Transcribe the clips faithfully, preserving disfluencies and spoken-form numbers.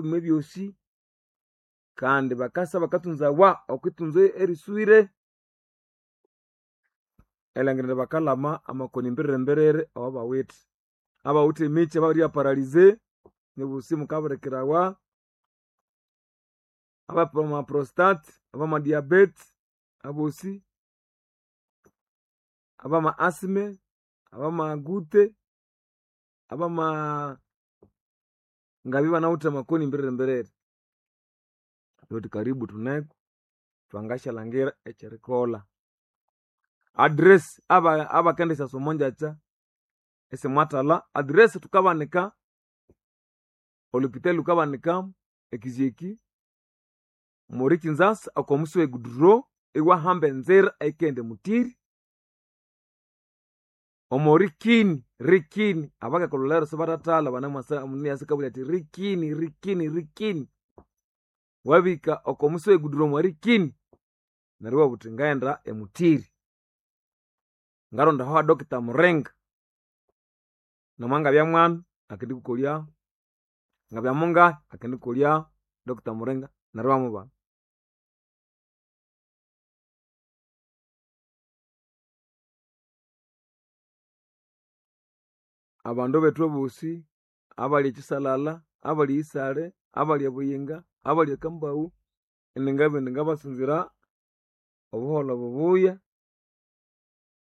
Ebyosi kandi bakasa bakatunzawa okwitunza eriswire erilhangira bakalhama amakoni mbiriri-mbiriri awabawithe. Abawithe emikyi ababiribya paralyze nibosi mukabirikirawa, abama prostate, abama diabete abosi, abama asthma, abama gute, abama ngabya ibanawithe amakoni mbiriri-mbiriri. Thuthi karibu thuneko thwangasyalhangira ekyerikolha. Address aba abakendisyasa omongyakya isimwathalha, address thukabanika olhupitali lhukabanika ekizyeki muli Kinzasa oko musi we Guduro iwahamba enzira eyikaghenda emutiri omo rikini rikini abakekolholero sibathathalha banemwasa omundu athi rikini rikini rikini wabika oko musi we Guduro omwa rikini neryo iwabugha wuthi ngaghenda emutiri ngaronda aho ha Doctor Muringa namangabya mwana akendikukolyaho ngabya mungahi akendikolyaho Doctor Muringa neryo iwamubana. Abandu bethu abosi abali ekisalala, abali isale, abali ebuyinga, abali ekambawu iningabugha indi ngabasunzira obuholho bubuya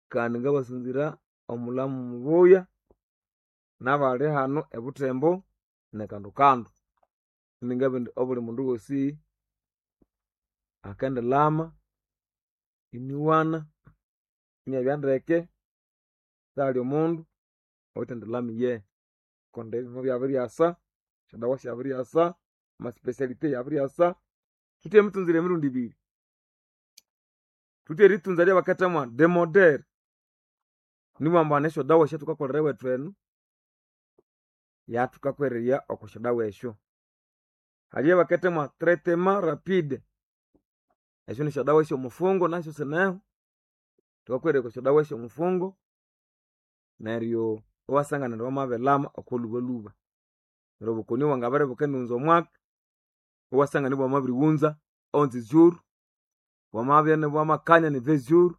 kandi ngabasunzira omulhamu mubuya nabali hano ebuthembo nekando kando. Iningabugha indi obuli mundu ghosi akendilhama iniwana inabya ndeke sihali omundu oyuthendilhama iye kundi ebimo byabiryasa, esyodawa syabiryasa, ama speciality yabiryasa. Thuthi emitunzire emirundi ibiri. Thuthi eritunza eryabakethamo demodere nibughambu hane esyodawa esyathukakolera ewethu enu yathukakwererya oko syodawa esyo. Hali eyabakethamo traitement rapide esyo nisyodawa esyomufungo nasyo sineho thukakwererya oko syodawa esyomufungo neryo iwasangana indi wamabilhama okolhubalhuba. Neryo obukoni bwangabere ibukendighunza omwaka iwasangana ibwamabirighunza onze jours bwamabya ibwamakanya ni vingt jours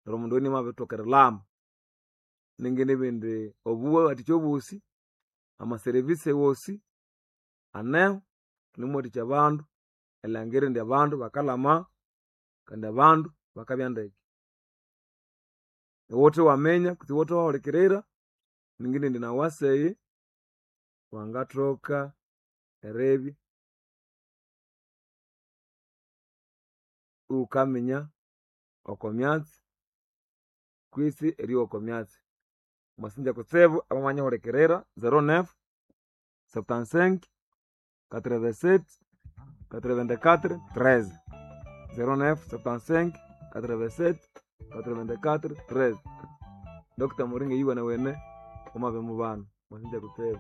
neryo omundu oyo inamabithoka erilhama. Ninginabugha indi obuwathikya obosi, ama service wosi aneho thunemuwathikya abandu erilhangira indi abandu bakalhama kandi abandu bakabya ndeke. Iwuthe waminya kutse iwuthe wahulikirira ninginabugha indi nawu waseyi wangathoka eribya iwukaminya oko myatsi kwisi eryowa oko myatsi. Mwasinja kutsibu abamanyihulikirira zero neuf, septante-cinq, quatre-vingt-sept, quatre-vingt-quatre, treize. Zero neuf, septante-cinq, quatre-vingt-sept, quatre-vingt-quatre, treize. Doctor Muringa yuwenewene wamabimubana. Mwasinja kutsibu.